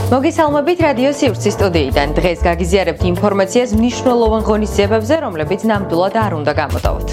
მოგესალმებით რადიო სივრცის სტუდიიდან. დღეს გაგიზიარებთ ინფორმაციას მნიშვნელოვან ღონისძიებებზე, რომლებიც ნამდვილად არ უნდა გამოტოვოთ.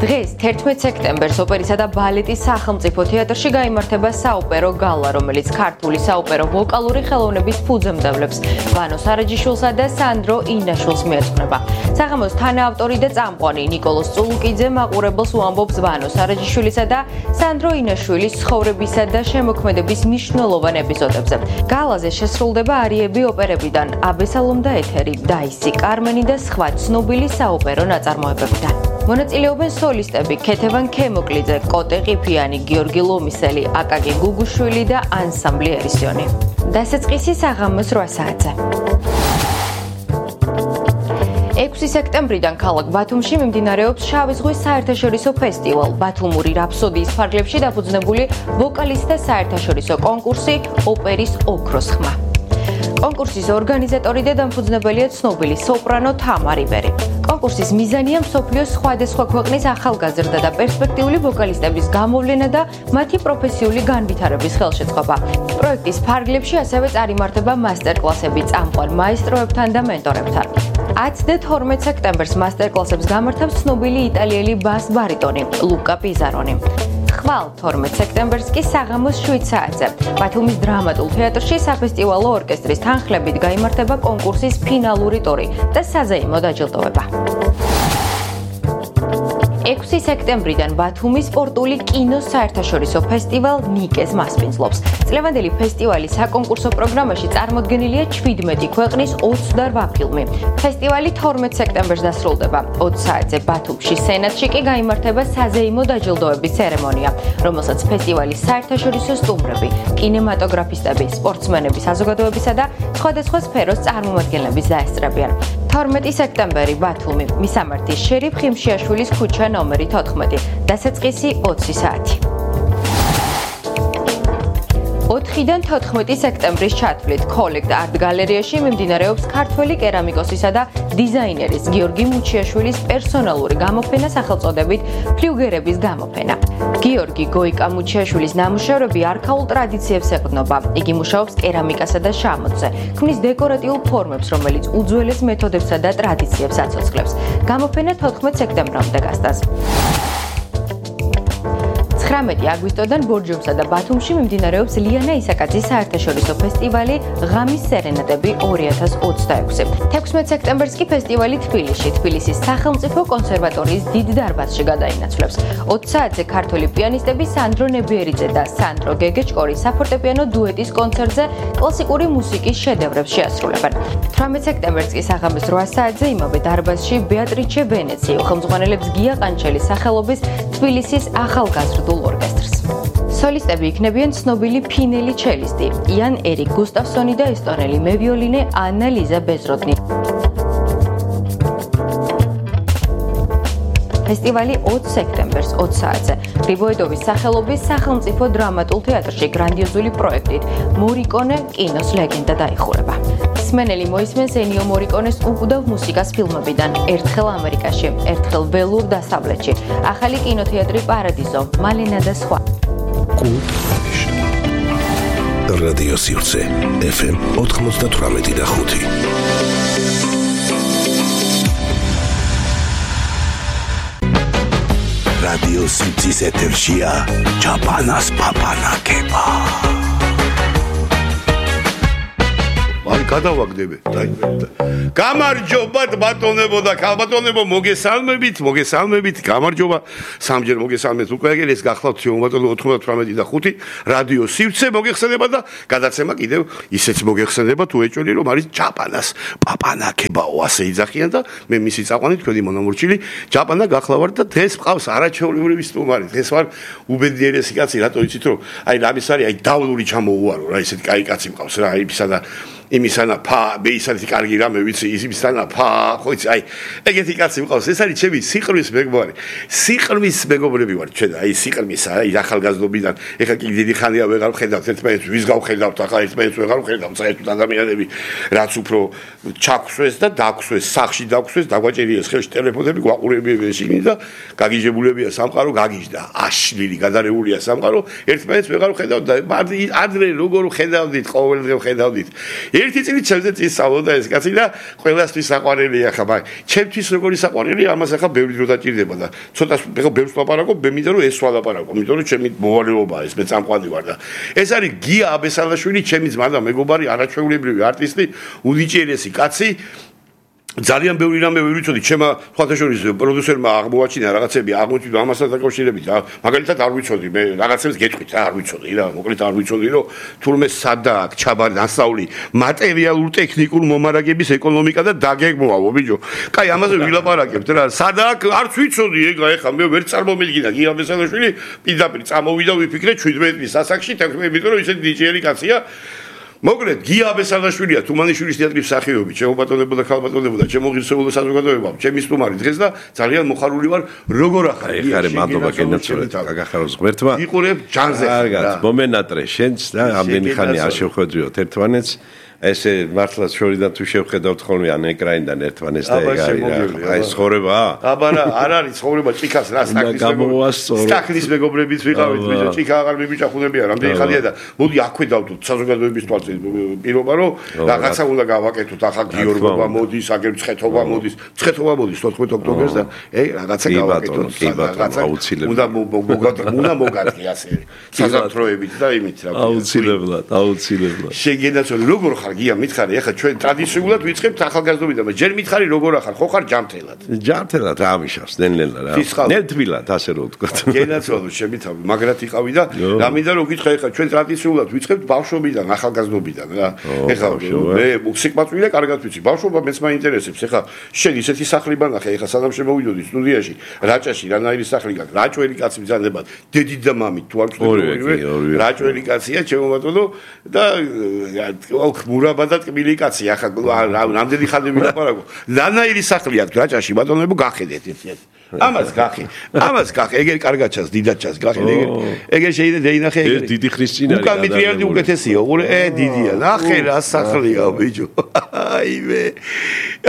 დღეს 11 სექტემბერს ოპერისა და ბალეტის სახელმწიფო თეატრში გაიმართება საოპერო გალა, რომელიც ქართული საოპერო ვოკალური ხელოვნების ფუძემდებლებს ვანო სარაჯიშვილსა და სანდრო ინაშვილს მიეძღვნება. საღამოს თანაავტორი და წამყვანი ნიკოლოზ წულუკიძე მაყურებელს უამბობს ვანო სარაჯიშვილისა და სანდრო ინაშვილის ცხოვრებისა და შემოქმედების მნიშვნელოვან ეპიზოდებზე. გალაზე შესრულდება არიები ოპერებიდან, აბესალომ და ეთერი, დაისი, კარმენი და სხვა ცნობილი საოპერო ნაწარმოებებიდან. მონაწილეობენ სოლისტები ქეთევან ქემოკლიძე, კოტე ყიფიანი, გიორგი ლომისელი, აკაკი გუგუშვილი და ანსამბლი ერისიონი. დასაწყისი საღამოს 8 საათზე. 6 სექტემბრიდან ქალაქ ბათუმში მიმდინარეობს შავი ზღვის საერთაშორისო ფესტივალ. ბათუმური რაფსოდიის ფარგლებში დაფუძნებული ვოკალისტთა საერთაშორისო კონკურსი ოპერის ოქროს ხმა. კონკურსის ორგანიზატორი და დამფუძნებელია ცნობილი სოპრანო თამარ იბერი. კონკურსის მიზანია მსოფლიოს სხვადასხვა ქვეყნის ახალგაზრდა და პერსპექტიული ვოკალისტების გამოვლენა და მათი პროფესიული განვითარების ხელშეწყობა. პროექტის ფარგლებში ასევე წარიმართება მასტერკლასები წამყვან მაესტროებთან და მენტორებთან. 10 და 12 სექტემბერს მასტერკლასებს გამართავს ცნობილი იტალიელი ბას ბარიტონი ლუკა პიზარონი. ხვალ 12 სექტემბერს კი საღამოს 7 საათზე ბათუმის დრამატულ თეატრში საფესტივალო ორკესტრის თანხლებით გაიმართება კონკურსის ფინალური ტური და საზეიმო დაჯილდოება. 6 სექტემბრიდან ბათუმის სპორტული კინოს საერთაშორისო ფესტივალ ნიკეს მასპინძლობს. წლევანდელი ფესტივალის საკონკურსო პროგრამაში წარმოდგენილია 17 ქვეყნის 28 ფილმი. ფესტივალი 12 სექტემბერს დასრულდება. 20 საათზე ბათუმში სენატში კი გაიმართება საზეიმო დაჯილდოების ცერემონია, რომელსაც ფესტივალის საერთაშორისო სტუმრები, კინემატოგრაფისტები, სპორტსმენები საზოგადოებისა და სხვადასხვა სფეროს წარმომადგენლები დაესწრებიან. 12 სექტემბერი ბათუმი, მისამართი შერიფ ხიმშიაშვილის ქუჩა ნომერი 14, დასაწყისი 20 საათი. 4-დან 14 სექტემბრის ჩათვლით კოლექტ არტ გალერეაში მიმდინარეობს ქართველი კერამიკოსისა და დიზაინერის გიორგი მუჩიაშვილის პერსონალური გამოფენა სახელწოდებით ფლიუგერების გამოფენა. გიორგი გოიკა მუჩიაშვილის ნამუშევრები არქაულ ტრადიციებს ეყრდნობა. იგი მუშაობს კერამიკასა და შამოთზე, ქმნის დეკორატიულ ფორმებს, რომელიც უძველეს მეთოდებსა და ტრადიციებს აცოცხლებს. გამოფენა 14 სექტემბრამდე გასტანს. 19 აგვისტოდან ბორჯომსა და ბათუმში მიმდინარეობს ლიანა ისაკაძის საერთაშორისო ფესტივალი ღამის სერენადები 2026. 16 სექტემბერს კი ფესტივალი თბილისის სახელმწიფო კონსერვატორიის დიდ დარბაზში გადაინაცვლებს. 20 საათზე ქართველი პიანისტები სანდრო ნებიერიძე და სანდრო გეგეჭკორი საფორტეპიანო დუეტის კონცერტზე კლასიკური მუსიკის შედევრებს შეასრულებენ. 18 სექტემბერს კი საღამოს 8 საათზე იმავე დარბაზში ბეატრიჩე ვენეციო ხელმძღვანელებს გია ყანჩელის სახელობის თბილისის ახალგაზრდულ ორკესტრს. სოლისტები იქნებიან ცნობილი ფინელი ჩელისტი იან ერიკ გუსტავსონი და ესტონელი მევიოლინე ანა ლიზა ბეზროდნი. ფესტივალი 20 სექტემბერს 20 საათზე გრიბოედოვის სახელობის სახელმწიფო დრამატულ თეატრში გრანდიოზული პროექტით მორიკონე კინოს ლეგენდა დაიხურება. მსმენელი მოისმენს ენიო მორიკონეს უკუდავ მუსიკას ფილმებიდან ერთხელ ამერიკაში, ერთხელ ველურ დასავლეთში, ახალი კინოთეატრი პარადიზო, მალენა და სხვა. რადიო სივრცე FM 98.5. რადიო სივრცის ეთერშია ჩაპანას პაპანაკება. აი გადავაგდები. გამარჯობათ ბატონებო და ქალბატონებო, მოგესალმებით, გამარჯობა. სამჯერ მოგესალმეთ უკვე ეს გახლავთ ბატონო 98 და 5 რადიო სივრცე მოგეხსენება და გადაცემა კიდევ ისეც მოგეხსენება თუ ეჭველი რომ არის ჩაპანას პაპანაკებაო ასე იძახიან და მე მისი წაყვანი თქვენი მონამორჩილი ჩაპანა გახლავართ და დღეს მყავს არაჩვეულებრივი სტუმარი. დღეს ვარ უბედიერესი კაცი, რატო იცით რომ აი რამის არის აი დავლური ჩამოუვარო რა, ესეთი კაი კაცი მყავს რა, ისა და იმისანაფა, მეისანი კარგი რამე ვიცი, იმისანაფა, ხო იცი, აი, ეგეთი კაცი მყავს, ეს არის ჩემი სიყრმის მეგობარი. სიყრმის მეგობრები ვარ ჩვენ, აი სიყრმის, აი ახალგაზრდობიდან, ეხლა კი დიდი ხანია ვეღარ ვხედავთ ერთმანეთს, ვის გავხედავთ, ახლა ერთმანეთს ვეღარ ვხედავთ, საერთოდ ადამიანები, რაც უფრო ჩაქვსვეს და დაქვსვეს, სახში დაქვსვეს, დაგვაჭერიეს ხელში ტელეფონები, გვაყურებიებიან შიგნით და გაგიჟებულებია სამყარო, გაგიჟდა, აშლილი, გადარეულია სამყარო, ერთმანეთს ვეღარ ვხედავთ და ადრე როგორ ვხედავდით, ყოველდღე ვხედავდით. ერთი წელი ჩემზე წისავლოდა ეს კაცი და ყველასთვის საყვარელია ხა, მაგრამ ჩემთვის როგორი საყვარელია, ამას ახლა ბევრი დრო დაჭირდება და ცოტა ეხლა ბევრს ვაპარაკობ, მე მინდა რომ ეს ვალაპარაკო, იმიტომ რომ ჩემი მოვალეობაა ეს, მე წამყვანი ვარ და ეს არის გია აბესალაშვილი, ჩემი ძმა და მეგობარი, არაჩვეულებრივი არტისტი, უნიჭიერესი კაცი. ძალიან ბევრი რამე ვერ ვიცოდი, ჩემმა ხვალთაშორის პროდიუსერმა აღმოაჩინა რაღაცები, აღმოჩნდა ამასთან დაკავშირებით, მაგალითად არ ვიცოდი, მე რაღაცებს გეტყვით, არ ვიცოდი რა, მოკლედ არ ვიცოდი, რომ თურმე სადა აქვს ჩაბარი დასავლი მატერიალურ ტექნიკურ მომარაგების ეკონომიკა და დაგეგმავო, ბიჭო. კაი, ამაზე ვილაპარაკებთ რა, სადა აქვს, არც ვიცოდი, ეხლა მე ვერ წარმომედგინა გია ბესალაშვილი, პირდაპირ წამოვიდა ვიფიქრე 17 წლის ასაკში, იმიტომ რომ ისეთი დიჯეი კაცია. მოკლედ გია ბესალაშვილია თუმანიშვილის თეატრის მსახიობი, ჩემო ბატონებო და ქალბატონებო და ჩემო ღირსეულო საზოგადოება, ჩემი სტუმარი დღეს და ძალიან მოხარული ვარ, როგორ ახარ. აი, ხარე მადლობა გენაცვლეთ, გაგახაროს ღმერთმა. იყურებ ჯანზე. კარგად, მომენატრე შენც და ამდენი ხანი არ შევხვედრიოთ ერთმანეთს. ესე მართლა შორიდან თუ შევხედავთ ხოლმე ან ეკრანიდან ერთმანეთს და ეგ არის რა. აი ცხოვრება? აბა რა, არ არის ცხოვრება ჭიქას რა, სტაქნის მეგობრებიც ვიყავით, ბიჭო, ჭიქა აღარ მიბიჭახუნებია, რამდენი ხანია და მოდი აქვე დავდოთ საზოგადოების თვალწინ პირობა რომ რაღაცა უნდა გავაკეთოთ, ახლა გიორგობა მოდის, აგერ მცხეთობა მოდის, მცხეთობა მოდის 14 ოქტომბერს და რაღაცა გავაკეთოთ, რაღაცა უნდა მოგადგე ასე საზამთროებით და იმით რა. აუცილებლად. შეგენაცვალე როგორ ხარ გია მითხარი, ახლა ჩვენ ტრადიციულად ვიწყებთ ახალგაზრდობიდან, მაგრამ ჯერ მითხარი როგორ ახარ, ხო ხარ ჯამთელად? ჯამთელად რა მიშავს, ნელ-ნელა რა. ნელთბილად, ასე რომ ვთქვათ. გენაცვალე შემითავი, მაგრად იყავი და რა მინდა რომ გითხრა, ახლა ჩვენ ტრადიციულად ვიწყებთ ბავშვობიდან, ახალგაზრდობიდან რა. ახლა მე სიყვარულია კარგად ვიცი, ბავშვობა მეც მაინტერესებს. ახლა შენ ისეთი სახლი ბანახე, ახლა სანამ შემოვიდოდი სტუდიაში, რაჭაში, რანაირი სახლი გაქვს, რაჭველი კაცი ბრძანებად, დედი და მამი თუ არ ვწდები, რაჭველი კაცია, ჩემო ბატონო და მურაბა და ტკბილი კაცი, ახლა რამდენი ხანი ვილაპარაკო. რანაირი სახლი აქვს რაჭაში, ბატონებო, გახედეთ ერთ-ერთ. ამას გახე, ეგერ კარგად ჩანს, დიდად ჩანს, გახედე ეგერ შეიძლება დაინახე ეგერ. დიდი ხნის წინ არის. უკან მიტრიანდი უკეთესია, უყურე, დიდია. ნახე რა სახლია, ბიჭო.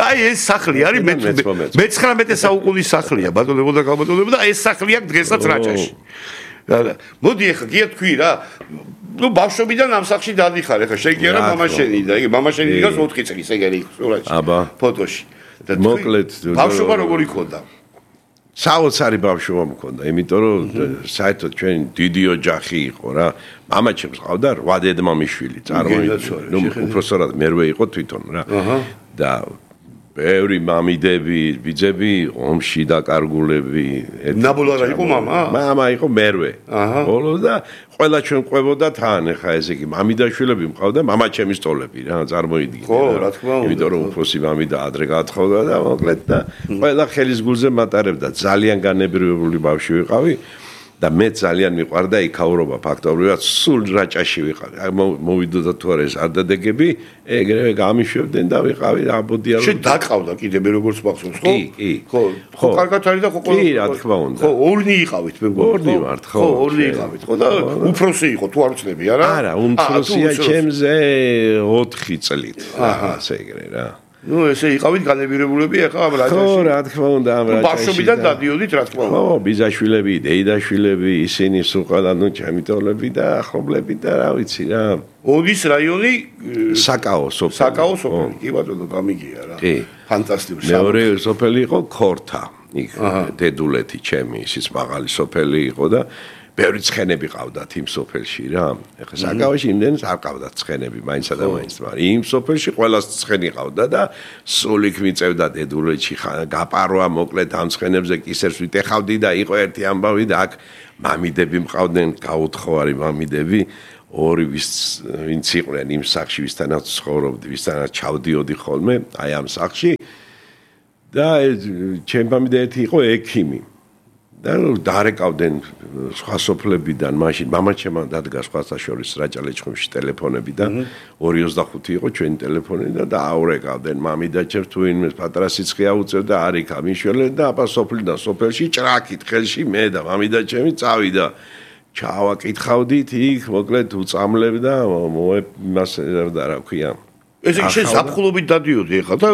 აი ეს სახლი არის მე-19 საუკუნის სახლია, ბატონებო და ქალბატონებო და ეს სახლი აქვს დღესაც რაჭაში. მოდი ახლა გია თქვი რა. ნუ ბავშვობიდან ამ სახლში დადიხარ, ახლა შეგია რა მამაშენი და იგი მამაშენი დგას 4 წლის ეგერი სურათში. აბა, ფოტოში. და მოკლედ ბავშვობა როგორი ქონდა? საოცარი ბავშვობა მქონდა, იმიტომ რომ საერთოდ ჩვენ დიდი ოჯახი იყო რა. მამა ჩემს ყავდა 8 დედმამიშვილი, წარმოიდგინე. ნუ უпроსორად მერვე იყო თვითონ რა. და ბევრი მამიდები, ბიძები, ომში დაკარგულები. ნაბოლო არა იყო მამა? მამა იყო მერვე. ბოლოს და ყველა ჩვენ ყვებოდა თან, ხა ესე იგი, მამიდაშვილები მყავდა, მამა ჩემი სტოლები რა, წარმოიდგინე. ხო, რა თქმა უნდა. იმიტომ რომ უფროსი მამი და ადრე გაათხოვდა და მოკლედ და ყველა ხელის გულზე მატარებდა. ძალიან განებრივებული ბავშვი ვიყავი. და მე ძალიან მიყვარდა იქაურობა ფაქტობრივად სულ რაჭაში ვიყავი. მოვიდოდა თუ არა ეს არდადეგები, ეგრევე გამიშვებდნენ და ვიყავი აბოდია რომ. შენ დაკავდა კიდე მე როგორც მახსოვს, ხო? კი. ხო, კარგად არის და ხო კი, რა თქმა უნდა. ხო, ორნი იყავით მე მგონი. ორნი ვართ, ხო. ხო, ორნი იყავით. ხო და უფროსი იყო თუ არ ვწდები, არა? არა, უმცროსია ჩემზე 4 წლით. ასე ეგრე რა. ნუ ესე იყავით განებირებულები ახლა ამ რაჭაში. ხო, რა თქმა უნდა, ამ რაჭაში. ბავშვობიდან დადიოდით, რა თქმა უნდა. ხო, ბიძაშვილები, დეიდაშვილები, ისინი სულ ყველა ნუ ჩემი ტოლები და ახლობლები და რა ვიცი რა. ოდის რაიონი საკაო სოფელი. საკაო სოფელი. კი ბატონო, გამიგია რა. კი. ფანტასტიკური. მეორე სოფელი იყო ქორთა. იქ დედულეთი ჩემი, ისიც მაღალი სოფელი იყო და ბევრი ცხენები ყავდათ იმ სოფელში რა. ეხლა საკავაში იმდენს არ ყავდათ ცხენები, მაინცსა და მაინც, მაგრამ იმ სოფელში ყველას ცხენი ყავდა და სულ იქ მიწევდა დედულეთში გაპარვა, მოკლედ ამ ცხენებზე კისერს ვიტეხავდი და იყო ერთი ამბავი და აქ მამიდები მყავდნენ, გაუთხოვარი მამიდები, ორი ვინც იყვნენ იმ სახლში, ვისთანაც ცხოვრობდი, ვისთანაც ჩავდიოდი ხოლმე, აი ამ სახლში და ჩემი მამიდა ერთი იყო ექიმი. და დაარეკავდნენ სხვა სოფლებიდან მაშინ მამაჩემმა დადგა სხვათა შორის რაჭა-ლეჩხუმში ტელეფონები და 225 იყო ჩვენი ტელეფონი და დააურეკავდნენ მამიდაჩემს თუ ვინმე პატარა სიცხე აუწევდა არ იქა მიშველენ და აბა სოფლიდან სოფელში ჭრაკით ხელში მე და მამიდაჩემი წავიდა ჩავაკითხავდით იქ მოკლედ უწამლებდა იმას და რა ქვია ესე იგი ზაფხულობით დადიოდი ახლა და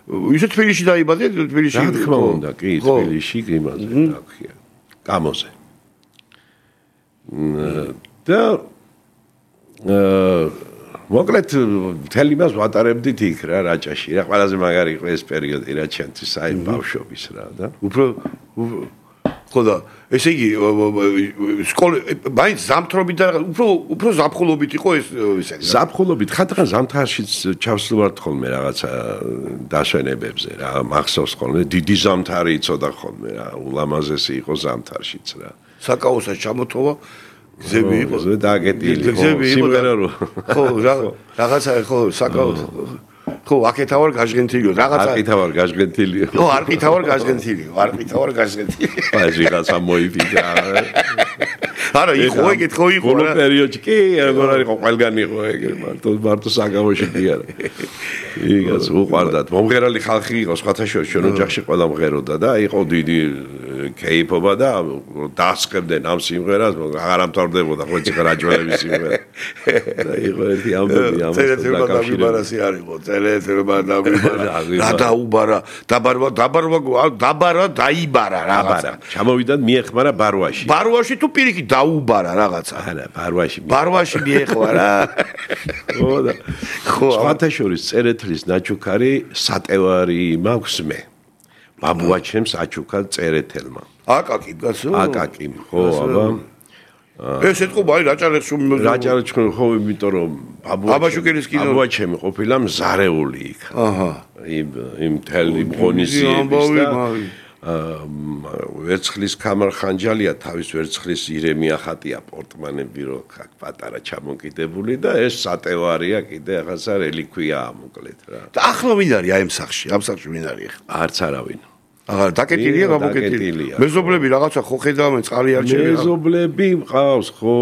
ისე თბილისში დაიბადე თბილისში რა თქმა უნდა კი თბილისში იმაზე რა ქვია გამოზე და მოკლედ მთელი მას ვატარებდით იქ რა რაჭაში რა ყველაზე მაგარი იყო ეს პერიოდი რა ჩემთვის აი ბავშვობის რა და უფრო ხო და ესე იგი სკოლა მაინც ზამთრობით და უფრო ზაფხულობით იყო ეს ისეთი ზაფხულობით ხათღან ზამთარშიც ჩავსვათ ხოლმე რაღაცა დასვენებებზე რა მახსოვს ხოლმე დიდი ზამთარი იცოდა ხოლმე რა ულამაზესი იყო ზამთარშიც რა საკაოსაც ჩამოთოვა გზები იყო დაგეტილი სიმღერა ხო რაღაცა ხო საკაოს ხო აქეთა ვარ გაჟღენთილიო რაღაცა აქეთა ვარ გაჟღენთილიო ხო არყითა ვარ გაჟღენთილი აი რაღაცა მოიფიდა არა იყო ეგეთ ხო იყო რა პერიოდში კი როგორ არის ყველგან იყო ეგ მარტო საგავოში კი არა იგაც უყვარდათ მომღერალი ხალხი იყო სხვათა შორის ჩვენ ოჯახში ყველა მღეროდა და იყო დიდი კეიფობა და დასწრებდნენ ამ სიმღერას აღარ ამთავრდებოდა ხო იცი რაჯველების სიმღერა და იყო ერთი ამბები ამას რა დაუბარა დაიბარა რაღაცა ჩამოვიდა მიეხმარა ბარვაში თუ პირიქით დაუბარა რაღაცა არა ბარვაში მიეხმარა ხო და სხვათა შორის წერეთლის ნაჩუქარი სატევარი მაქვს მე ბაბუაჩემს აჩუქა წერეთელმა აკაკი გასო აკაკი ხო აბა ეს ეთქობა აი რაჭა-ლეჩხუმი ხო იმიტომ რომ აბაშუკელის კინო ბაბუაჩემი ყოფილა მზარეული იქ აჰა იმ თელი ღონისძიების და ვერცხლის კამარხანჯალია თავის ვერცხლის ირემია ხატია პორტმანები რო აქ პატარა ჩამოკიდებული და ეს სატევარია კიდე ახლა რელიკვიაა მოკლედ რა და ახლა ვინ არის აი ამ სახში ვინ არის არც არავინ აღარ დაკეტილია გამოკეტილია მეზობლები რაღაცა ხო ხედავენ წყალი არჩევენ მეზობლები მყავს ხო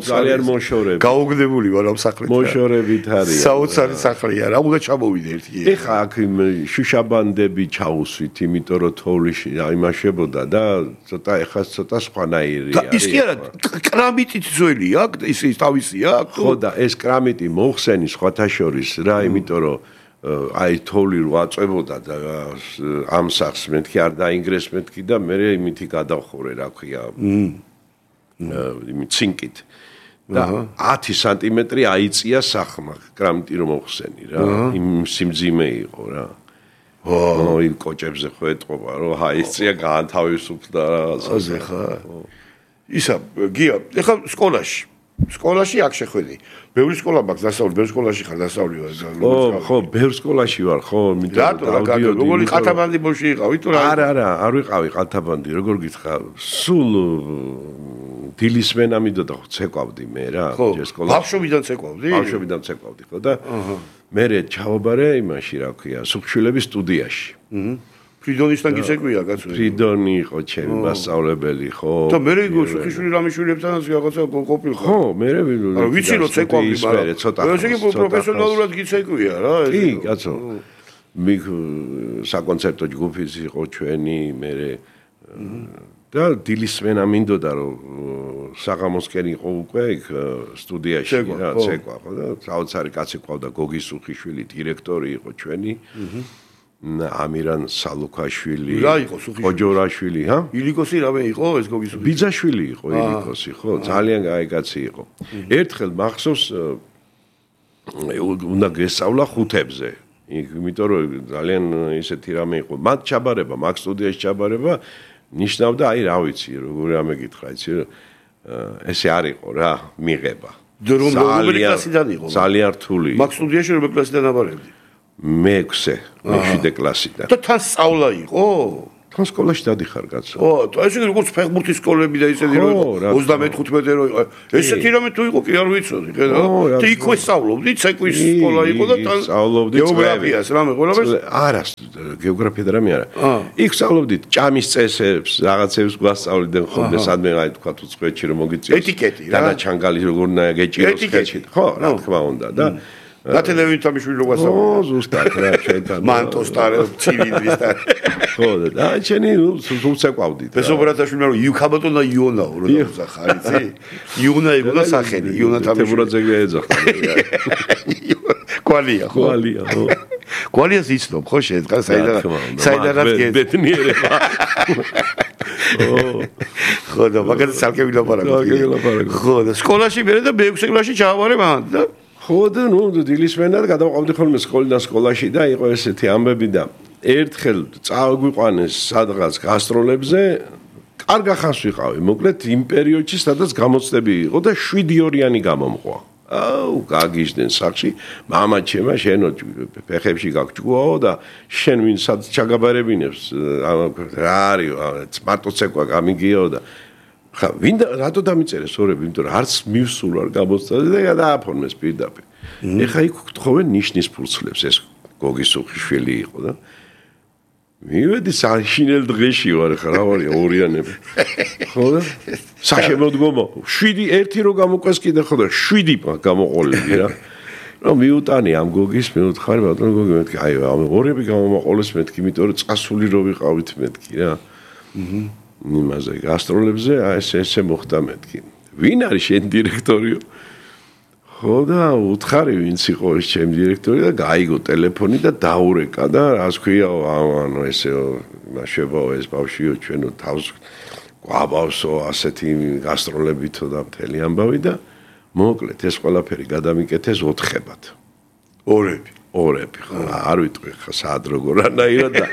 ძალიან მოშორები გაუგდებული ვარ ამ სახლით მოშორებით არის საოცარი სახლია რა უნდა ჩამოვიდე ერთი ეხა აქ შუშაბანდები ჩაუსვით იმიტომ რომ თოვლიში აიმაშებოდა და ცოტა ეხა ცოტა სხვანაირი არის ის კი არა კრამიტით ძველია ის თავისია ხო და ეს კრამიტი მოხსენი სხვათა შორის რა იმიტომ რომ აი თოვლი რო აწვებოდა და ამ სახს მეთქი არ დაინგრეს მეთქი და მე იმითი გადავხურე რა ქვია იმით ცინკით და 10 სანტიმეტრი აიწია სახმა კრამიტი რომ მოხსენი რა იმ სიმძიმე იყო რა იმ კოჭებზე ხო ეტყობა რომ აიწია გაანთავისუფლდა რაღაცაზე ხა ისა გია ეხლა სკოლაში აქ შეხვედი. ბევრი სკოლა მაქვს დასავლი, ბევრი სკოლაში ხარ დასავლი ვარ. ხო, ბევრი სკოლაში ვარ, ხო, მითხრა. როგორი ყათაბანდი ბოში იყავი თუ რა? არა, არ ვიყავი ყათაბანდი, როგორ გითხრა? სულ დილისმენა მიდოდა ხო ცეკვავდი მე რა, ჯერ სკოლაში. ბავშვობიდან ცეკვავდი? ბავშვობიდან ცეკვავდი, ხო და მე ჩავაბარე იმაში, რა ქვია, სუხშილების სტუდიაში. ფრიდონისთან გიცეკვია კაცო. ფრიდონი იყო ჩემი მასწავლებელი, ხო. და მე იყო სუხიშვილი რამიშვილებთანაც რაღაცა ყოფილი ხო? ხო, მე ვიცი რომ ცეკვავდი, მაგრამ ცოტა. ესე იგი პროფესიონალურად გიცეკვია რა. კი, კაცო. საკონცერტო ჯგუფიც იყო ჩვენი, მე და დილისმენა მინდოდა რომ საღამოსკენ იყო უკვე იქ სტუდიაში რა ცეკვა ხო და საოცარი კაცი ყავდა გოგი სუხიშვილი დირექტორი იყო ჩვენი ამირან სალუქაშვილი რა იყო სუხიშვილი ოჯორაშვილი ჰა ილიკოსი რავე იყო ეს გოგი სუხიშვილი ბიძაშვილი იყო ილიკოსი ხო ძალიან კაი კაცი იყო ერთხელ მახსოვს უნდა გესწავლა ხუთებზე იმიტომ რომ ძალიან ისეთი რამე იყო მათ ჩაბარება მაგ სტუდიაში ჩაბარება ნიშნავდა აი რა ვიცი როგორ ამეკითხა იცი ესე არ იყო რა მიღება რომელი კლასიდან იყო ძალიან რთული მაგ სტუდიაში რომელი კლასიდან აბარებდი მე-6 მე-7 კლასიდან და თან სწავლა იყო თან სკოლაში დადიხარ კაცო. ეს იგი როგორც ფეხბურთის სკოლები და ისეთი რომ 13-15 რო იყო. ესეთი რამე თუ იყო კი არ ვიცოდი, ხედავ? და იქვე სწავლობდი, ცეკვის სკოლა იყო და თან სწავლობდი გეოგრაფიას, რამე ყველაფერს. არა, გეოგრაფია და რამე არა. იქ სწავლობდით ჭამის წესებს, რაღაცებს გვასწავლდნენ ხოლმე, სადმე აი თქვა თუ წვეთში რომ მოგიწიოს. ეტიკეტი რა. და ჩანგალი როგორ უნდა გეჭიროს ხელში. ხო, რა თქმა უნდა და და ტელევიზორში რო გვასწავლე. ზუსტად რა ჩვენთან. მანტოს ტარე, ცილინდრის ტარე. ხო და ჩვენი სულცეკვავდით. ბესობრატაშვილმა რომ იუქაბატონა იონაო რო დაუსახა, იცი? იონა იყო და სახელი, იონა თემურაძე ეძახდა. კვალია, ხო? კვალია, ხო. კვალიას იცნობ, ხო შედგა საიდანაც ბეთნიერება. ხო და მაგალითად სალკე ვილაპარაკო. ხო და სკოლაში მერე და მე-6 კლასში ჩავარე მან და ხო და ნუ დილისმენად გადავყავდი ხოლმე სკოლიდან სკოლაში და იყო ესეთი ამბები და ერთხელ წავგვიყვანეს სადღაც გასტროლებზე კარგა ხანს ვიყავი მოკლედ იმ პერიოდში სადაც გამოცდები იყო და 7-2-იანი გამომყვა აუ გაგიჟდნენ სახში მამა ჩემა შენო ფეხებში გაგჭუაო და შენ ვინცად ჩაგაბარებინებს რა არის მარტო ცეკვა გამიგიო და ხა ვინ რატო დამიწერეს ორები იმიტომ რომ არც მივსულ არ გამოცდაზე და დააფორმეს პირდაპირ ეხა იქ გთხოვენ ნიშნის ფურცლებს ეს გოგის უხიშვილი იყო და მივედი საშინელ დღეში ვარ ხა რა ვარია ორიანები ხო და საშემოდგომა 7 ერთი რო გამოყვეს კიდე ხო და 7 გამოყოლები რა რომ მიუტანი ამ გოგის მეუთხარი ბატონო გოგი მეთქი აი ამ ორები გამომაყოლეს მეთქი იმიტომ რომ წასული რო ვიყავით მეთქი რა იმაზე გასტროლებზე ესე მოხდა მეთქი ვინ არის შენ დირექტორიო ხო და უთხარი ვინც იყო ეს ჩემი დირექტორი და გაიგო ტელეფონი და დაურეკა და რას ქვია ანუ ესე მაშებაო ეს ბავშვიო ჩვენო თავს გვაბავსო ასეთი გასტროლებითო და მთელი ამბავი და მოკლედ ეს ყველაფერი გადამიკეთეს 4-ებად ორები ხო არ ვიტყვი ხა სად როგორ ანაირად და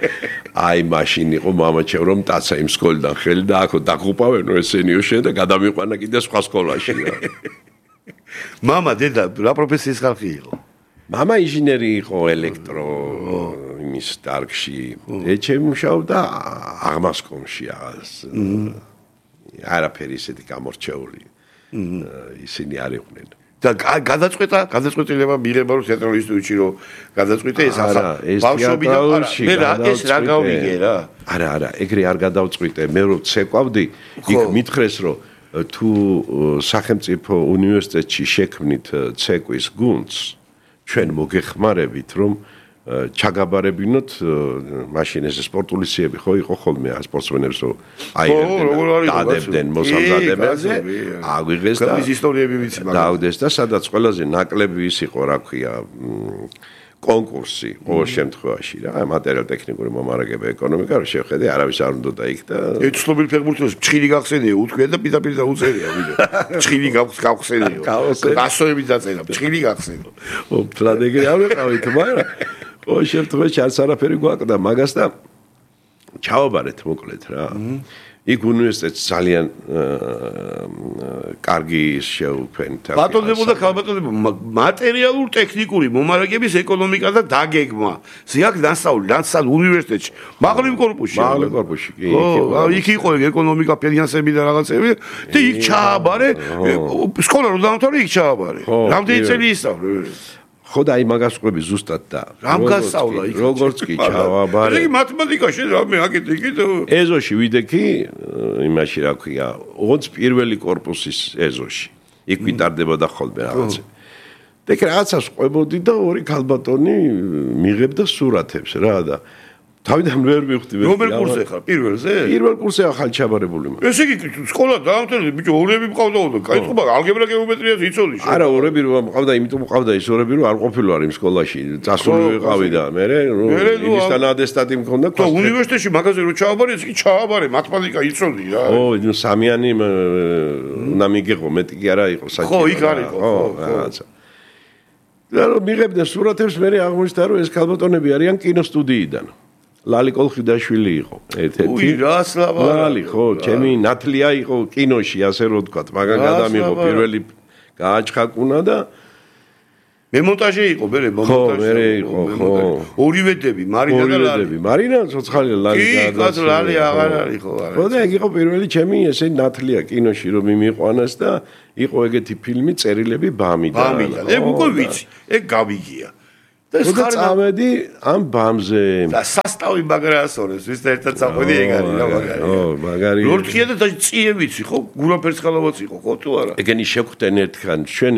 აი მაშინ იყო მამაჩემ რომ ტაცა იმ სკოლიდან ხელი და აქო დაგუპავენო ესენიო შენ და გადამიყვანა კიდე სხვა სკოლაში რა მამა დედა რა პროფესიის ხალხი იყო მამა ინჟინერი იყო ელექტრო იმის დარგში ეჩემ მუშაობდა აღმასკომში არაფერი ისეთი გამორჩეული ისინი არ იყვნენ და გადაწყვეტილება მიიღება რომ თეატრალურ ინსტიტუტში რომ გადაწყვეტე ეს ახლა ბავშვობიდან ეს რა გავიგე რა არა ეგრე არ გადავწყვიტე მე რომ ცეკვავდი იქ მითხრეს რომ თუ სახელმწიფო უნივერსიტეტში შექმნით ცეკვის გუნდს ჩვენ მოგეხმარებით რომ ჩაგაბარებინოთ მაშინ ეს სპორტული სიები ხო იყო ხოლმე სპორტსმენებს რომ აიღებდნენ დადებდნენ მოსამზადებელზე აგვიღეს და ის ისტორიები ვიცი მაგრამ დაუდეს და სადაც ყველაზე ნაკლები ის იყო რა ქვია კონკურსი ყოველ შემთხვევაში რა მატერიალ-ტექნიკური მომარაგება ეკონომიკა რომ შევხედე არავის არ უნდა იქ და ეს ცნობილი ფეხბურთელს ჩხილი გახსენია უთქვია და პირდაპირ დაუწერია ვიდეო ჩხილი გახსენია გასოები დაწერა ჩხილი გახსენო ფლად ეგრე არ ვიყავით მაგრამ ყოველ შემთხვევაში არც არაფერი გვაკლდა მაგას და ჩავაბარეთ მოკლედ რა იქ უნივერსიტეტს ძალიან კარგი შეუქმნით. ბატონებოდა ქალბატონებო მატერიალურ ტექნიკური მომარაგების ეკონომიკა და დაგეგმა. ზიაკ დასავლ უნივერსიტეტში. მაღლივ კორპუსში. მაღლივ კორპუსში. იქ იყო ეკონომიკა, ფინანსები და რაღაცები და იქ ჩააბარე. სკოლა რო დაამთავრე იქ ჩააბარე. რამდენი წელი ისწავლე? ხო და აი მაგას ყვები ზუსტად და რამ გასწავლა იქ როგორც კი ჩავაბარე ეგ მათემატიკაში რამე აკეთე კიდე ეზოში ვიდექი იმაში რა ქვია ოღონდ პირველი კორპუსის ეზოში იქ ვიტარდებოდა ხოლმე რაღაცა და იქ რაღაცას ყვებოდი და ორი ქალბატონი მიღებდა სურათებს რა და თავიდან ვერ მივხვდი მე რომელ კურსზე ხარ პირველზე პირველ კურსზე ახალ ჩაბარებული მაგ ესე იგი სკოლა დაამთავრე ბიჭო ორები მყავდა და კაიწყობა ალგებრა გეომეტრიას იცოდი შე არა ორები რომ მყავდა იმიტომ მყავდა ის ორები რომ არ ყოფილვარ იმ სკოლაში წასული ვიყავი და მე იმისთან ატესტატი მქონდა და უნივერსიტეტში მაგაზე რომ ჩააბარე ის კი ჩააბარე მათემატიკა იცოდი რა ო სამიანი უნდა მიგეღო მეტი კი არა იყო საჭირო ხო იქ არის ხო რაღაცა და რომ მიღებდნენ სურათებს მე აღმოჩნდა რომ ეს ქალბატონები არიან კინოსტუდიიდან ლალი კოლხიდაშვილი იყო ერთ-ერთი. უი, რას ლაბა. ლალი ხო, ჩემი ნათლია იყო კინოში, ასე რომ ვთქვათ, მაგან გადამიღო პირველი გააჩხაკუნა და მე მონტაჟე იყო, მერე მონტაჟი. ხო, მერე იყო, ხო. ორივედები, მარინა და ლალი. მარინა ცოცხალი ლალი და კი, ლალი აღარ არის ხო, არა. ხო და ეგ იყო პირველი ჩემი ესე ნათლია კინოში რომ მიმიყვანას და იყო ეგეთი ფილმი წერილები ბამიდან. ეგ უკვე ვიცი, ეგ გავიგია. და ეს წავედი ამ ბამზე. და სასტავი მაგრაასორეს, ვის და ერთად წავედი ეგ არის რა მაგარი. ო, მაგარი. ლორდქია და წიე ვიცი ხო, გურაფერს ხალავაც იყო ხო თუ არა? ეგენი შეხვდნენ ერთხან, ჩვენ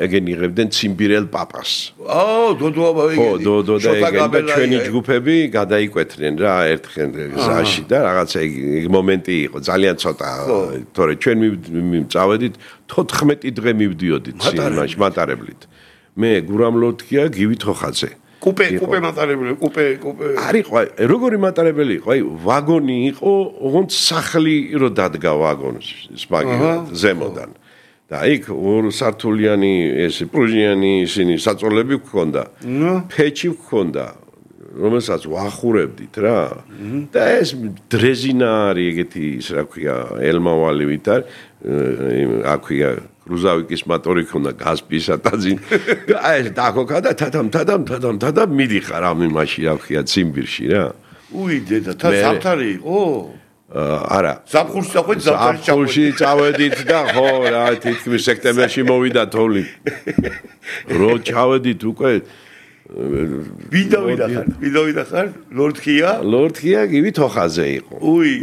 ეგენი იღებდნენ ციმბირელ პაპას. დოდო აბა ეგენი. ხო, დოდო და ეგენი და ჩვენი ჯგუფები გადაიკვეთნენ რა ერთხელ გზაში და რაღაცა ეგ მომენტი იყო, ძალიან ცოტა, თორე ჩვენ წავედით 14 დღე მივდიოდით სინემაში მატარებლით. მე გურამ ლორდქია, გივი თოხაძე. კუპე მატარებელი, კუპე. არის ყო, როგორი მატარებელი იყო? აი, ვაგონი იყო, ოღონდ სახლი რო დადგა ვაგონს, სპაგი ზემოდან. და იქ ორ სართულიანი ეს პრუჟიანი ისინი საწოლები გქონდა. ფეჩი გქონდა, რომელსაც ვახურებდით რა. და ეს დრეზინა არის ეგეთი, ის რა ქვია, ელმავალივით არის, აქვია რუზავიკის მოტორი ქონდა გაზპისა ტაძინ და ეს დაქოკა და თადამ მიდიხარ ამ იმაში რა ქვია ციმბირში რა დედა თა ზამთარი იყო არა ზაფხულში წავედით ზაფხულში წავედით და ხო რა თითქმის სექტემბერში მოვიდა თოვლი რო ჩავედით უკვე ვიდავიდა ხარ ლორდქია გივი თოხაძე იყო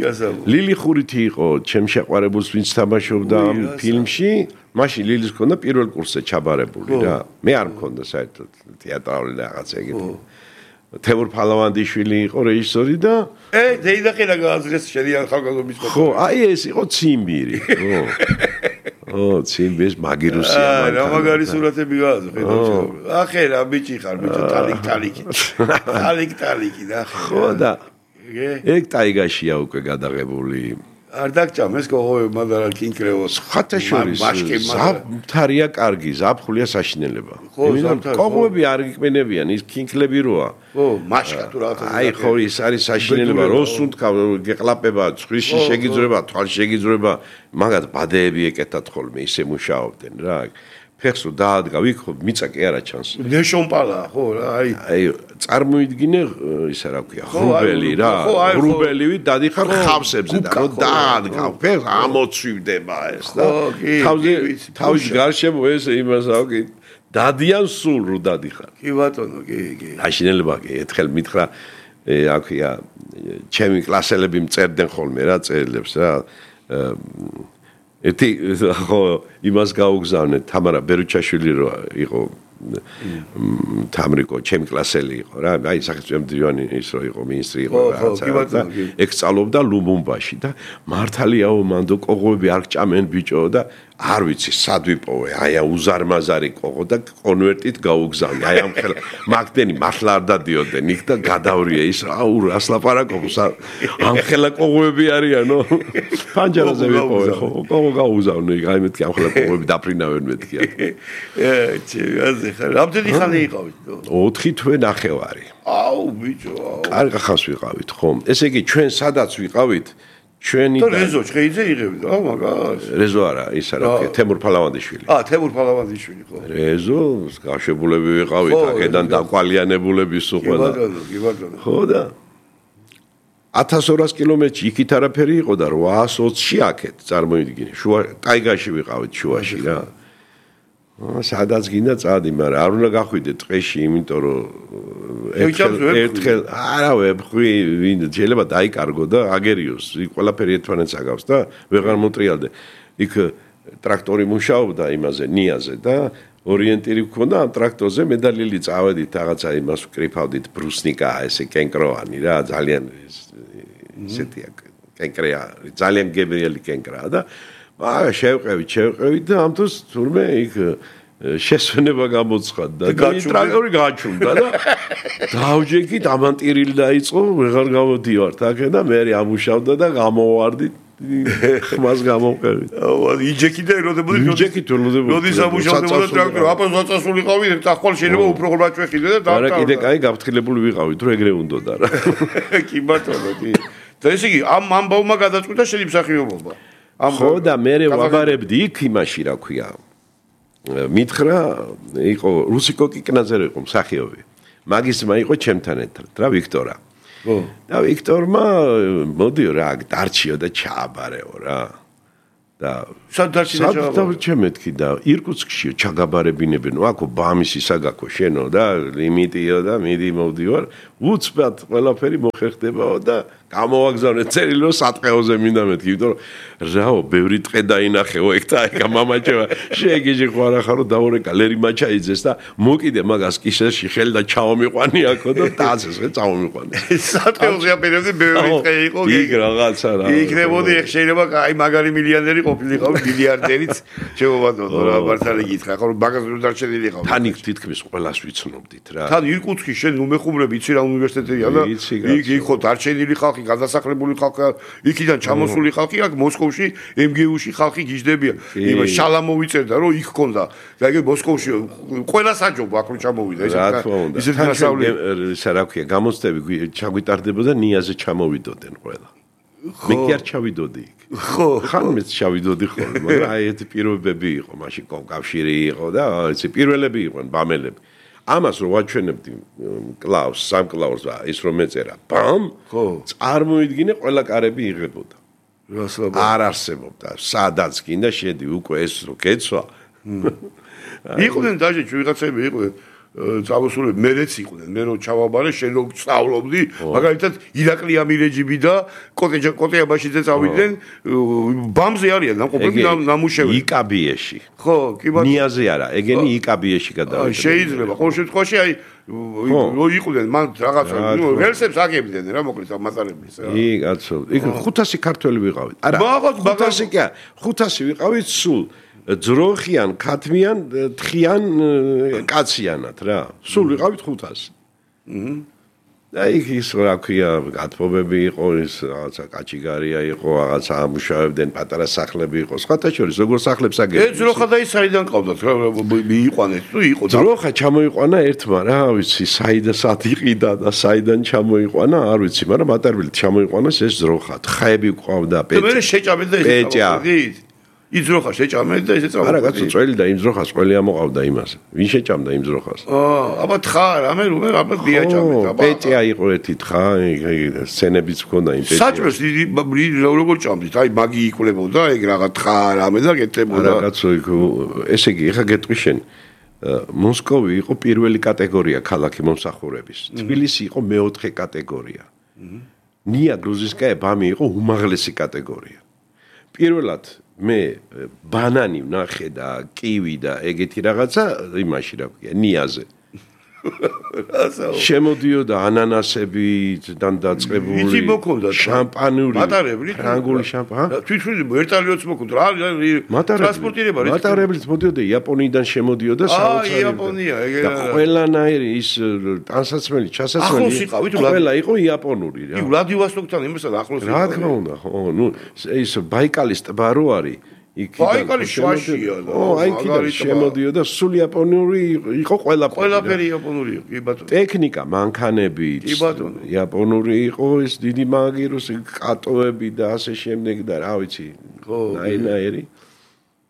გასაგო ლილი ხურითი იყო ჩემ შეყვარებულს ვინც თამაშობდა ამ ფილმში მაშინ ლილის ქონდა პირველ კურსზე ჩაბარებული რა მე არ მქონდა საერთოდ თეატრალური რაღაცა ეგეთი თემურ ფალავანდიშვილი იყო რეჟისორი და ზეიდახელა გააზრეს შედიან ხალხაზობის ხო აი ეს იყო ციმბირი ხო ციმბირის მაგირუსია რა მაგარი სურათები გააზრე ახე რა ბიჭი ხარ ბიჭო ტალიკ და ხო და ეგ ტაიგაშია უკვე გადაღებული არ დაგჭამ ეს კოღოები მაგრამ კინკრევოს ხათაშორის ზამთარია კარგი ზაფხულია საშინელება იმიტომ კოღოები არ გიკმენებიან ის კინკლები როა ხო მაშკა თუ რაღაცა აი ხო ის არის საშინელება როსუნთქა გეყლაპება ცხვირში შეგიძრება თვალში შეგიძრება მაგათ ბადეები ეკეთათ ხოლმე ისე მუშაობდნენ რა ფეხსო დაადგა ვიქო მიწა კი არა ჩანს ნეშონპალა ხო რა აი წარმოიდგინე ისა რა ქვია ხრუბელი რა ხრუბელივი დადიხარ ხავსებზე და რო დაადგა ფეხს ამოცვივდება ეს და თავის გარშემო ეს იმას აგი დადიან სულ რო დადიხარ კი ბატონო კი აშინელება კი ერთხელ მითხრა აქვია ჩემი კლასელები მწერდნენ ხოლმე რა წერილებს რა ერთი ხო იმას გაუგზავნეთ თამარა ბერუჩაშვილი რო იყო თამრიკო ჩემი კლასელი იყო რა აი სახელმწიფო ის რო იყო მინისტრი იყო რაღაცა ეგ სწავლობდა ლუმბუმბაში და მართალიაო მანდო კოღოები არ გჭამენ ბიჭო და არ ვიცი სად ვიპოვე აი უზარმაზარი კოღო და კონვერტით გაუგზავნე აი ამ ხელ მაგდენი მართლა არ დადიოდნენ იქ და გადავრია ის აუ რას ლაპარაკობს ამ ხელა კოღოები არიანო პანჯარაზე ვიპოვე ხო კოღო გაუგზავნე აი მეთქი ამ ხელა კოღოები დაფრინავენ მეთქი რამდენი ხანი იყავით? 4 თვე ნახევარი. აუ ბიჭო, კარგ ხანს ვიყავით, ხო? ესე იგი ჩვენ სადაც ვიყავით, ჩვენი და რეზო ჩხეიძე იღებდა, მაგას. რეზო არა, ის არა, თემურ ფალავანდიშვილი. თემურ ფალავანდიშვილი, ხო. რეზო, გავშებულები ვიყავით, აქედან დაკვალიანებულები სულ ყველა. კი ბატონო. ხო და 1200 კილომეტრში იქით არაფერი იყო და 820-ში აქეთ წარმოიდგინე. შუა ტაიგაში ვიყავით შუაში რა. სადაც გინდა წადი, მაგრამ არ უნდა გახვიდე ტყეში, იმიტომ რომ ერთხელ არა ვებხვი, ვინ შეიძლება დაიკარგო და აგერიოს, იქ ყველაფერი ერთმანეთს აგავს და ვეღარ მოტრიალდე. იქ ტრაქტორი მუშაობდა იმაზე, ნიაზე და ორიენტირი გქონდა ამ ტრაქტორზე, მე და ლილი წავედით რაღაცა იმას ვკრიფავდით ბრუსნიკა, ესე კენკროვანი რა, ძალიან ისეთი კენკრეა, ძალიან გემრიელი კენკრაა და მაგრამ შევყევით და ამ დროს თურმე იქ შესვენება გამოცხადდა და ტრაქტორი გაჩუმდა და დავჯექით ამანტირილი დაიწყო ვეღარ გამოდივართ აქ და მე ამუშავდა და გამოვარდი ხმას გამოვყევით იჯექით და როდის ამუშავდებოდა ტრაქტორი აპას დაწასულიყავი ახალ შეიძლება უფრო ხმაჭვეხიდე და და არა კიდე კაი გაფრთხილებული ვიყავით რომ ეგრე უნდოდა რა კი ბატონო კი და ესე იგი ამ ამბავმა გადაწყვიტა შენი მსახიობობა ხო და მე ვაბარებდი იქ იმაში რა ქვია მითხრა იყო რუსიკო კიკნაძე იყო მსახიობი. მაგის ძმა იყო ჩემთან ერთად რა ვიქტორა. და ვიქტორმა მოდიო რა დარჩიო და ჩააბარეო რა. და სად დარჩიო ჩააბარეო მეთქი და ირკუტსკშიო ჩაგაბარებინებენო აქო ბამისი საგაქო შენო და ლიმიტიო და მიდი მოვდივარ უცბად ყველაფერი მოხერხდებაო და გამოვაგზავნე წერილი რომ სატყეოზე მინდა მეთქი იმიტომ რომ რაო ბევრი ტყე დაინახეო ეგ და ეგა მამაჩევა შეგიჟი ხო არა ხარო დაურეკა ლერი მაჩაიძეს და მოკიდე მაგას კისერში ხელი და ჩავომიყვანი აქო და დაცეს ხე წავომიყვანი სატყეოზე აპირებდი ბევრი ტყე იყო იქ რაღაცა რა იქნებოდი ეგ შეიძლება აი მაგარი მილიონერი ყოფილიყავ მილიარდერიც შემოვადო რა მართალი გითხრა ხო მაგას რო დარჩენილიყავ თან იქ თითქმის ყველას ვიცნობდით რა თან ირკუტსკი შენ უმეხუმრები იცი რა უნივერსიტეტია და იქ ხო დარჩენილი ხალხი გადასახლებული ხალხი იქიდან ჩამოსული ხალხი აქ მოსკოვში MGU-ში ხალხი გიждდებიან იმ შალამოვიწერდა რომ იქ ქონდა და ეგ მოსკოვში ყველა საჯობო აქ რო ჩამოვიდა ისეთ გასავლელი რა ქვია გამოცდები ჩაგვიტარდებოდა ნიაზე ჩამოვიდოდნენ ყველა მე კი არ ჩავიდოდი იქ ხო ხან მეც ჩავიდოდი ხოლმე მაგრამ აი ეს პირობები იყო მაშინ კავშირი იყო და ეს პირველები იყვნენ ბამელები ამას რო ვაჩვენებდი კლაუს სამ კლაუს ის რომ ეწერა ბამ ხო წარმოიდგინე ყველა კარები იღებოდა რასაბრა არ არსებობდა სადაც გინდა შედი უკვე ეს რო კეცვა იყვნენ დაჟე ვიღაცები იყვნენ წავსულები მერეც იყვნენ მე რო ჩავაბარე შენ რო სწავლობდი მაგალითად ირაკლი ამირეჯიბი და კოტე აბაშიძე წავიდნენ ბამზე არიან ნამყოფები ნამუშევარი იკაბიეში ხო კი ბატონო ნიაზე არა ეგენი იკაბიეში გადავიდა შეიძლება ყოველ შემთხვევაში აი რო იყვნენ მან რაღაცა რელსებს აგებდნენ რა მოკლედ ამასარებლის რა ი კაცო იქ 500 ქართველი ვიყავით არა 500 კი 500 ვიყავით სულ ძროხიან, ქათმიან, თხიან კაციანად რა. სულ ვიყავით 500. და ის რა ქვია, გათბობები იყო, ის რაღაცა კაჭიგარია იყო, რაღაცა ამუშავებდნენ, პატარა სახლები იყო. სხვათა შორის როგორ სახლებს აგებდნენ? ძროხა და ის საიდან ყავდათ რა მიიყვანეთ თუ იყო ძროხა ჩამოიყვანა ერთმა რა ვიცი, საიდანაც იყიდა და საიდან ჩამოიყვანა, არ ვიცი, მაგრამ მატარებლით ჩამოიყვანეს ეს ძროხა. თხაები ყავდა, პეჭა. მე შეჭამეთ და ეს პეჭა. იძროხა შეჭამეთ და ესე არა კაცო წველი და იმ ძროხას ყველი ამოყავდა იმას ვინ შეჭამდა იმ ძროხას აბა თხა რამე რომე აბა დიაჭამეთ აბა პეჭა იყო ერთი თხა სცენებიც ჰქონდა იმ პეჭას საჭმელს როგორ ჭამდით აი მაგი იკლებოდა ეგ რაღაც თხა რამე და გეტებოდა არა კაცო ესე იგი ეხა გეტყვი შენ მოსკოვი იყო პირველი კატეგორია ქალაქი მომსახურების თბილისი იყო მეოთხე კატეგორია ნია გრუზისკაია ბამი იყო უმაღლესი კატეგორია პირველად მე ბანანი ვნახე და კივი და ეგეთი რაღაცა იმაში რა ქვია ნიაზე შემოდიოდა ანანასებიდან დაწყებული შამპანური ფრანგული შამპანი თვითონ ვერტალიოც მოკვდა რა ტრანსპორტირება მატარებლით მოდიოდა იაპონიიდან შემოდიოდა საოცარი იაპონია და ყველანაირი ის ტანსაცმელი ჩასაცმელი ყველა იყო იაპონური რა ვლადივოსტოკთან იმასთან ახლოს რა თქმა უნდა ხო ნუ ის ბაიკალის ტბა რო არის ბაიკალის შვაშია აი კიდე შემოდიოდა სულ იაპონური იყო ყველაფერი იაპონური იყო კი ბატონო ტექნიკა მანქანები კი ბატონო იაპონური იყო ეს დიდი მაგიროს კატოები და ასე შემდეგ და რა ვიცი ხო ნაირ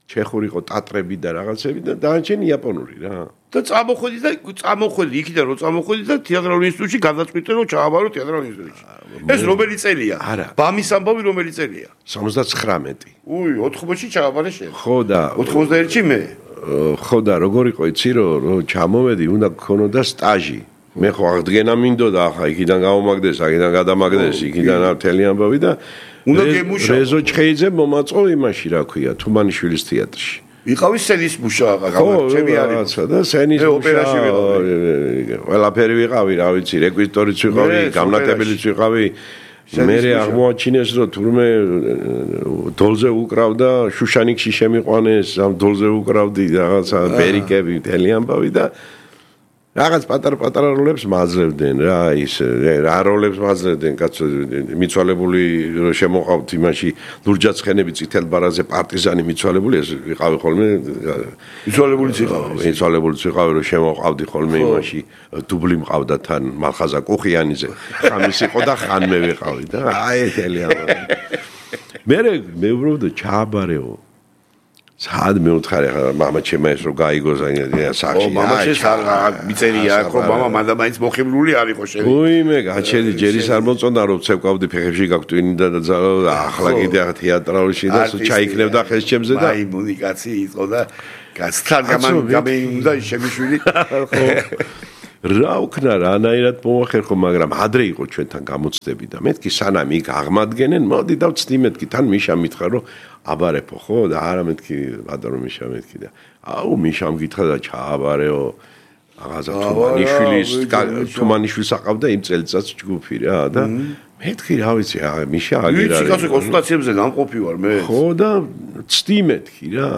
ჩეხური იყო ტატრები და რაღაცები და დაანჩენი იაპონური რა და წამოხვედი იქიდან რომ წამოხვედი და თეატრალურ ინსტიტუტში გადაწყვიტე რომ ჩააბარო თეატრალურ ინსტიტუტში ეს რომელი წელია ბამის ამბავი რომელი წელია 79 უი 80-ში ჩააბარე შენ ხო და 91-ში მე ხო და როგორ იყო იცი რომ ჩამოვედი უნდა გქონოდა სტაჟი მე ხო აღდგენა მინდოდა ახლა იქიდან გამომაგდეს აქედან გადამაგდეს იქიდან მთელი ამბავი და უნდა გემუშავო რეზო ჩხეიძე მომაწყო იმაში რა ქვია თუმანიშვილის თეატრში ვიყავი სენის მუშა გამარჯვები არის და სენის ოპერაში ვიყავი ყველაფერი ვიყავი რა ვიცი რეკვიზიტორიც ვიყავი გამნაკებელიც ვიყავი მე აღმოაჩინეს რომ თურმე დოლზე უკრავდა შუშანიკში შემიყვანეს ამ დოლზე უკრავდი რაღაცა ბერიკები მთელი ამბავი და რაღაც პატარ-პატარა როლებს მაძლევდნენ რა ის რა როლებს მაძლევდნენ კაცო მიცვალებული რომ შემოყავთ იმაში ლურჯაცხენები წითელ ბარაზე პარტიზანი მიცვალებული ეს ვიყავი ხოლმე მიცვალებულიც ვიყავი რომ შემოყავდი ხოლმე იმაში დუბლი მყავდა თან მალხაზა კუხიანიძე ხამის იყო და ხან მე ვიყავი და აი ეთელია მე უბრალოდ ჩააბარეო სად მეუთხარი ახლა მამა ჩემა ეს რო გაიგო სახში მამაჩეს არ მიწერია ხო მამა მანდა მაინც მოხიბლული არ იყო შენ უიმე გაჩელი ჯერის არ მოწონდა რომ ცევკავდი ფეხებში გაგვტვინდა და ახლა კიდე თეატრალში და ჩაიქნებდა ხეს ჩემზე და მაიმუნი კაცი იყო და გასთან გამეუნდა შემიშვილი რა უქნა რანაირად მოახერხო მაგრამ ადრე იყო ჩვენთან გამოცდები და მეთქი სანამ იქ აღმადგენენ მოდი და ვწდი მეთქი თან მიშა მითხრა რომ აბარეფო ხო და არა მეთქი ბატონო მიშა მეთქი და აუ მიშამ გითხრა და ჩააბარეო აღაზა თუმანიშვილს აყავდა იმ წელიწადს ჯგუფი რა და მეთქი რა ვიცი მიშა აგერ არის ვიცი კაცო კონსულტაციებზე გამყოფი ვარ მე ხო და ვწდი მეთქი რა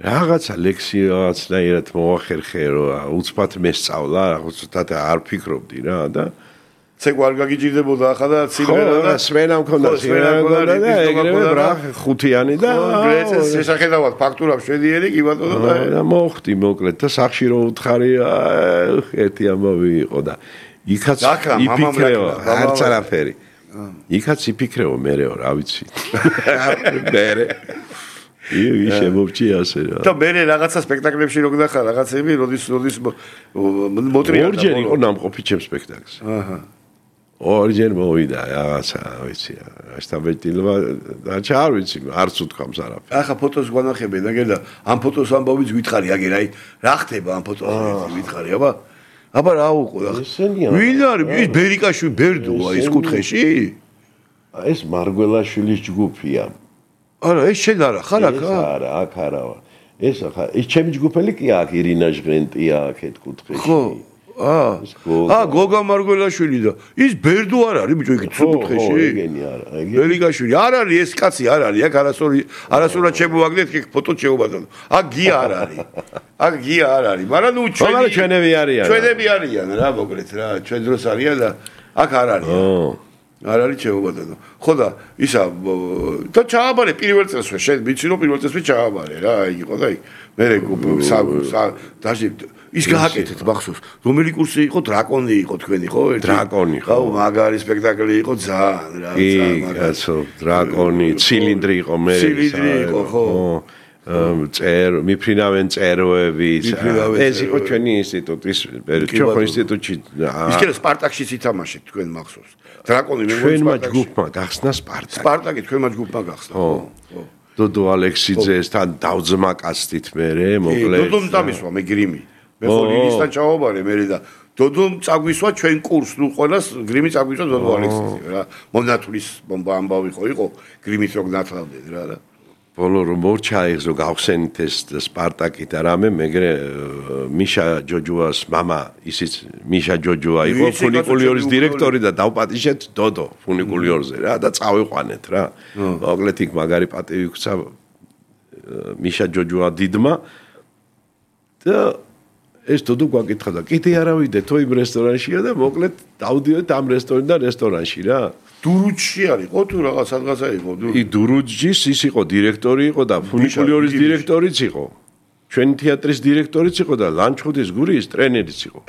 რაღაცა ლექსიაცნაირად მოახერხე რომ უცბად მესწავლა რაღაცა არ ფიქრობდი რა და ცეკვა არ გაგიჭირდებოდა ახლა და სიმღერა და სვენა მქონდა და ეგრევე რა ხუთიანი და ეს შეხედავად ფაქტურა შედიერი კი ბატონო და მოხდი მოკლედ და სახში რო უთხარი ერთი ამბავი იყო და იქაც იფიქრეო არც არაფერი იქაც იფიქრეო მეреო რა ვიცი მერე ისე მოვჭი ასე რა და მე რაღაცა სპექტაკლებში რო გნახა რაღაცები როდის მოტრია ორჯერ იყო ნამყოფი ჩემ სპექტაკლს აჰა ორჯერ მოვიდა რაღაცა ვიცი ასტაბეტილმა და არ ვიცი არც უთქვამს არაფერს ახლა ფოტოს გვანახებენ და გერდა ამ ფოტოს ამბავიც გითხარი აგერ აი რა ხდება ამ ფოტოზე გითხარი აბა რა უყო ვინ არის ის ბერიკაშვილი ბერდოა ის კუთხეში ეს მარგველაშვილის ჯგუფია არა ეს შენ არა ხარ აქ არა აქ არა ეს ახლა ეს ჩემი ჯგუფელი კი აქ ირინა ჟღენტია აქეთ კუთხეში ხო გოგა მარგველაშვილი და ის ბერდო არ არის ბიჭო იქ კუთხეში ეგენი არა ეგენი ბერიკაშვილი არ არის ეს კაცი არ არის აქ არასოურად შემოვაგდეთ იქ ფოტო შეუბადონ აქ გია არ არის აქ გია არ არის მაგრამ ნუ ჩვენები არიან რა მოკლედ რა ჩვენ დროს არიან და აქ არ არის არ არის შეუბადო ხო და ისა და ჩააბარე პირველ წელსვე შენ ვიცი რომ პირველ წელსვე ჩააბარე რა იყო და იქ მე დაჟე ის გააკეთეთ მახსოვს რომელი კურსი იყო დრაკონი იყო თქვენი ხო ერთი დრაკონი ხო მაგარი სპექტაკლი იყო ძალიან რა ძალიან კაცო დრაკონი ცილინდრი იყო მე ცილინდრი იყო ხო მიფრინავენ წეროები ეს იყო ჩვენი ინსტიტუტის ჩვენ ინსტიტუტში ის კიდე სპარტაკშიც ითამაშეთ თქვენ მახსოვს დრაკონი მე ჩვენმა ჯგუფმა გახსნა სპარტაკი თქვენმა ჯგუფმა გახსნა ხო დოდო ალექსიძესთან დავძმა კაცით მე მოკლედ დოდომ წამისვა მე გრიმი მე ხოლინისთან ჩავაბარე მე და დოდომ წაგვისვა ჩვენ კურს ნუ ყველას გრიმი წაგვისვა დოდო ალექსიძე რა მონათulis ამბავი ხო იყო გრიმით რო გნათლავდნენ რა ბოლო რომ მორჩა ეხო გავხსენით ეს სპარტაკი და რამე მეგრე მიშა ჯოჯუას мама ისიც მიშა ჯოჯუა იყო ფუნიკულიორის დირექტორი და დავპატიჟეთ დოდო ფუნიკულიორზე რა და წავიყვანეთ რა მოკლედ იქ მაგარი პატივი გვცა მიშა ჯოჯუა დიდმა და ეს დოდო გვაკითხა და კიდე არა ვიდეთო იმ რესტორანშია და მოკლედ დავდივეთ ამ რესტორანში რა დურუჯში არის ხო თუ რაღაც სადღაცა იყო დურუჯის ის იყო დირექტორი იყო და ფუნიკულიორის დირექტორიც იყო ჩვენი თეატრის დირექტორიც იყო და ლანჩხუთის გურიის ტრენერიც იყო